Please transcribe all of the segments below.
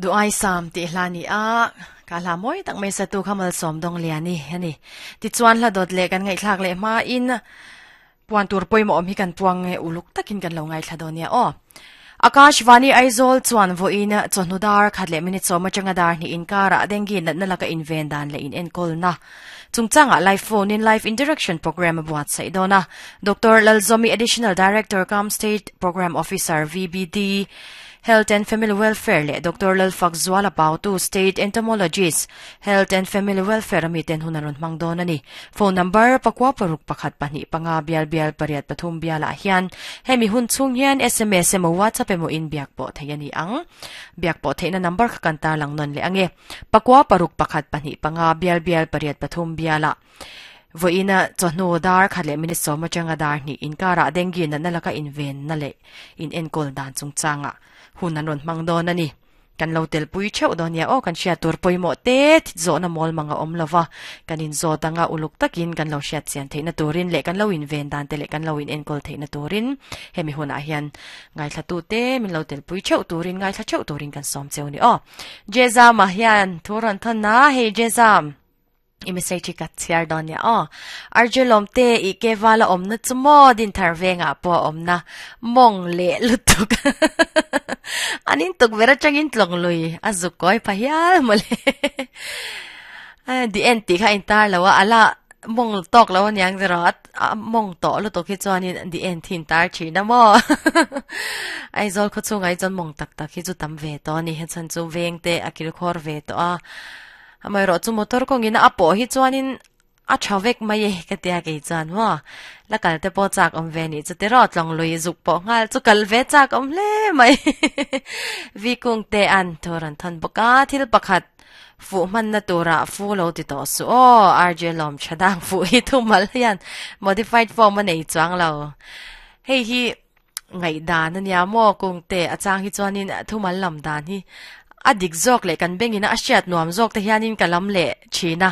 Duai Sam tih hla ni a, ka hla mawi tak mai satu kha Malsawm Dawngliani a ni. Tichuan hla dawt leh kan ngaihthlak leh hmain puan tur pawimawh awm hi kan puang nge uluk takin kan lo ngaithla dawn nia aw. Akashvani Aizawl chuan vawiin chawhnu dar khat leh minute sawm atanga dar hnih inkarah dengue natna laka inven dan leh inenkawlna chungchangah live phone in live interaction program a buatsaih dawn a. Doctor Lalzomi Additional Director cum State Program Officer VBD Health and Family Welfare leh Doctor Lalfakzuala Pautu State Entomologist Health and Family Welfare a miten hun an rawn hmang dawn a ni. Phone number, pakua paruk pakhat pahnih panga bial bial pariat pathum bialah hian hemi hun chhung hian sms emaw WhatsApp emaw in biak pawh theih a ni ang. Biak pawh theihna number kha kan tarlang nawn leh ang e. Pakua paruk pakhat pahnih panga bial bial pariat pathum bialah vawiina chawhnu dar khat leh minute sawm atanga dar hnih inkarah dengue natna laka invenna leh inenkawl dan chungchangah hun an rawn hmang dawn a ni. Kan lo telpui theuh dawn nia aw, kan hriat tur pawimawh te zawhna mawl mang a awm lo va, kan inzawt anga uluk takin kan lo hriat chian theihna turin leh kan lo inven dan te leh kan lo inenkawl theihna turin hemi hunah hian ngaithlatu te min lo telpui theuh turin ngaithla theuh turin kan sawm cheu ni aw. Jezama hian thu rawn thawn a, hei Jezam. I message hi ka chhiar dawn nia aw. Arjun lawm te i ke vala awmna chu maw din thar vengah pawh a awmna mawng leh lutuk. An in tuk ber atangin tlawng lui a zuk kawi pha hial mawle. Di en tih kha a intar lo a, ala mawng tawk lo aniang zero a mawng tawh lutuk hi chuanin di en thin tar thin a maw. Aizawl khaw chhungah hi chuan mawng tak tak hi chu tam ve tawh a ni, hechhan chu veng te a kilkhawr ve tawh a. Amaherawh chu motor kawngin a pawh hi chuanin a tha vek mai e ka tia kei chuan maw la kal te pawh chak awm ve nih chu tiraw tlawng lui zuk pawh nghal chu kal ve chak awm hle mai vi kung te an thu rawn thawn bawk a thil pakhat fuh hmanna turah fu lo ti tawh suh aw RJ lawm tha dang fuh hi thumal hian modified form a nei chuang lo hei hi Ngaihdan a nia maw kungte a chang hi chuanin thumal lam dan hi a dik zawk leh kan bengin a hriat nuam zawk te hianin ka lam leh thin a,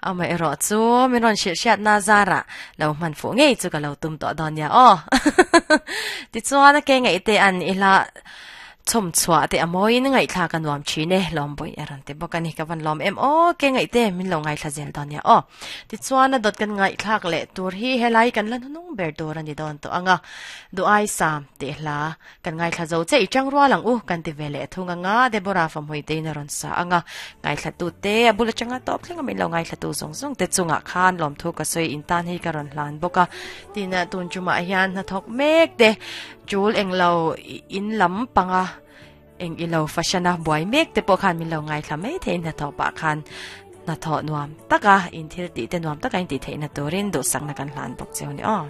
amaherawh chu min rawn hrilh hriatna zarah lo hman fuh ngei chu ka lo tum tawh dawn nia aw. Tichuan a ke ngaihte an i hla Chhawm chhuah te a mawiin ngaihthlak a nuam thin e, Lawmbawih a rawn ti bawk a ni. Ka van lawm em aw, ke ngaihte min lo ngaithla zel dawn nia aw. Tichuan a dawt kan ngaihthlak leh tur hi helai kan la hnunung ber tur a ni dawn tawh ang a. Duai Sam tih hla kan ngaithla zo che i chang rual ang u kan ti ve leh thung ang a, Deborah Famhui tein a rawn sa ang a. Ngaithlatu te a bul atanga tawp thleng a min lo ngaithlatu zawng zawng te chungah khan lawmthu ka sawi in tan hi ka rawn hlan bawk a. Tin tun tumah hian hnathawk mek te Chul englo in lam panga eng ilo fashion a buai mek te pawh khan min lo ngaithla mai thei hnathawh pah khan hnathawh nuam taka in thil tih te nuam taka in tih theihna turin duhsakna kan hlan bawk cheu ni aw.